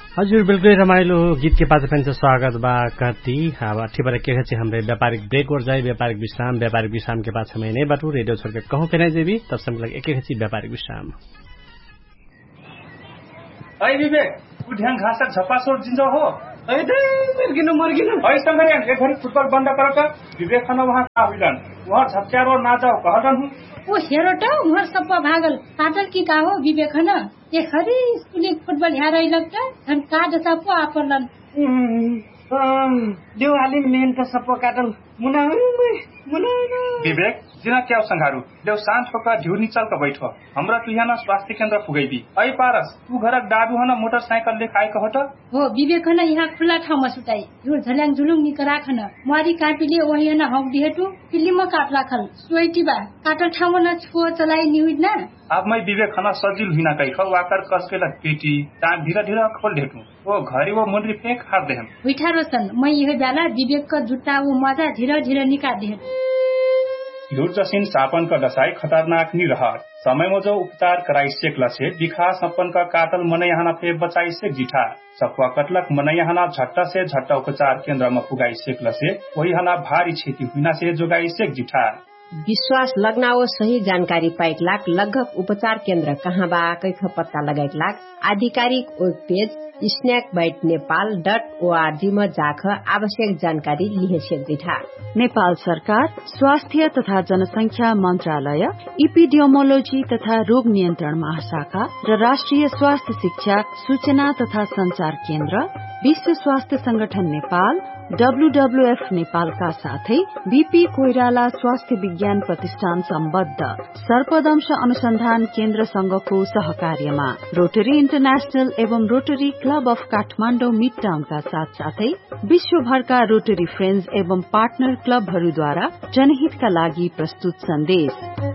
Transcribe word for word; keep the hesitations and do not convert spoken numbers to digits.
हजुर बिल्कुलै रमाइलो गीतके पाछा फेन्से स्वागत बा। कहती अब ठिबर एके घची हमरे व्यापारिक ब्रेक ओर जाइ व्यापारिक विश्राम व्यापारिक विश्रामके पाछा मै नै बाटु रेडियो छोरके कहूँ फेनाइ जेबी तब समय लग एके घची व्यापारिक विश्राम। है विवेक, उ ढ्याङ घाँसक झपासोर जिन्ज हो। है दे, मर्गिनु मर्गिनु। है संगरियन, एक घरी फुटबल बन्द करत। विवेक खन उहाँ का हुइलन? उहाँ झप्क्यारो ना जाओ कहलन हुँ। ओ हेरोट, उहाँ सप्पा भागल। काटल कि का हो विवेक खन? ए खरी स्कुलिक फुटबल ह्यारैलक त झन का जसा पो आपरलन। देउ हालिम मेहन त सप्पा काटल। मुना मुना। विवेक, जिना क्याउ संघारु? देउ शान्त होका ढिउर निचल क बैठ। हमरा तुहियाना स्वास्थ्य केन्द्र पुगैबी। ऐ पारस, तू घरक डाडुहन मोटरसाइकल लेखाए कहत। हो विवेक हन यहाँ खुल्ला ठाउँमा सुताई। ढिउर झल्याङ जुलुङ निकराखन। म्वारी कापिले ओहियन हौक दिहेटु। पिल्लिम काटलाखल। सोइटिबा। काटल ठाउँमा न छुव चलाई निहुइट ना। अब मै विवेक हन सजिल हुइना कैख वाकर कसकेला पेटी। तान ढिर ढिर खोल देहेटु। ओ घरी ओ मुन्द्री फेक हार देहन। हुइठा रोसन मै यहे ब्याला विवेक क जुट्टा ओ मजा ढिर ढिर निका देहन। ढिउर जसिन सापन क डसाई खतरनाक निरहर। समय मजो उपचार कराई सेकला से बिखा सप्पन क काटल मनैहना फे बचाई सेक जिठा। सप्वा कटलक मनैहना झट्टा से झट्टा उपचार केन्द्र म पुगाई सेकला से ओहिहना भारी छेती हुइना से जोगाई सेक जिठा। विश्वास लग्नाओ सही जानकारी पाइक लाग लगभग उपचार केन्द्र कहाँ बा कैख पत्ता लगाइक लाग आधिकारिक web page snack bite Nepal डट ओआरजी म जाख आवश्यक जानकारी लिहेसेक दिठा। नेपाल सरकार स्वास्थ्य तथा जनसंख्या मन्त्रालय इपिडियोमोलोजी तथा रोग नियन्त्रण महाशाखा र राष्ट्रिय स्वास्थ्य शिक्षा सूचना तथा सञ्चार केन्द्र विश्व स्वास्थ्य संगठन नेपाल डब्ल्युडब्ल्युएफ नेपालका साथै बिपी कोइराला स्वास्थ्य विज्ञान प्रतिष्ठान सम्बद्ध सर्पदंश अनुसन्धान केन्द्रसँगको सहकार्यमा रोटरी इन्टरनेशनल एवं रोटरी क्लब अफ काठमाण्डौ मिडटाउनका साथसाथै विश्वभरका रोटरी फ्रेन्ड्स एवं पार्टनर क्लबहरूद्वारा जनहितका लागि प्रस्तुत सन्देश।